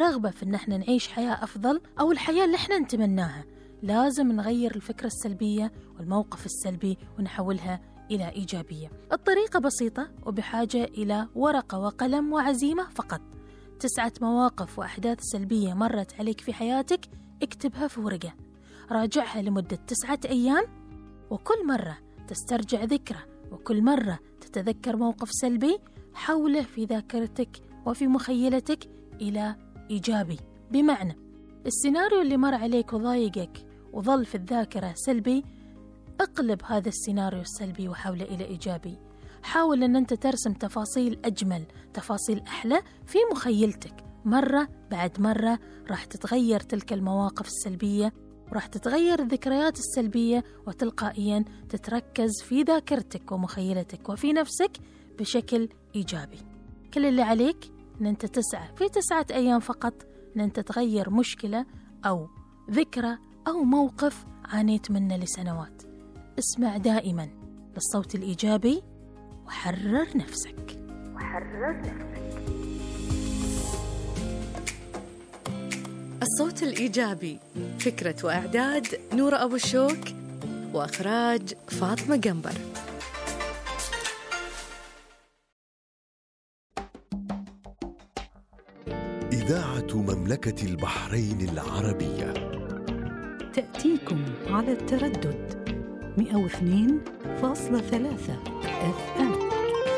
رغبة في إن احنا نعيش حياة أفضل أو الحياة اللي احنا نتمناها، لازم نغير الفكرة السلبية والموقف السلبي ونحولها إلى إيجابية. الطريقة بسيطة وبحاجة إلى ورقة وقلم وعزيمة فقط. 9 مواقف وأحداث سلبية مرت عليك في حياتك اكتبها في ورقة، راجعها لمدة 9 أيام، وكل مرة تسترجع ذكرى وكل مرة تتذكر موقف سلبي حوله في ذاكرتك وفي مخيلتك إلى إيجابي. بمعنى السيناريو اللي مر عليك وضايقك وظل في الذاكرة سلبي، اقلب هذا السيناريو السلبي وحوله إلى إيجابي. حاول أن أنت ترسم تفاصيل أجمل، تفاصيل أحلى في مخيلتك. مرة بعد مرة راح تتغير تلك المواقف السلبية وراح تتغير الذكريات السلبية، وتلقائيا تتركز في ذاكرتك ومخيلتك وفي نفسك بشكل إيجابي. كل اللي عليك أن أنت تسعى في 9 أيام فقط أن أنت تغير مشكلة أو ذكرى أو موقف عانيت منه لسنوات. اسمع دائما للصوت الإيجابي وحرر نفسك. الصوت الإيجابي، فكرة وإعداد نورة أبو الشوك، وإخراج فاطمة قنبر. إذاعة مملكة البحرين العربية تأتيكم على التردد 102.3 FM.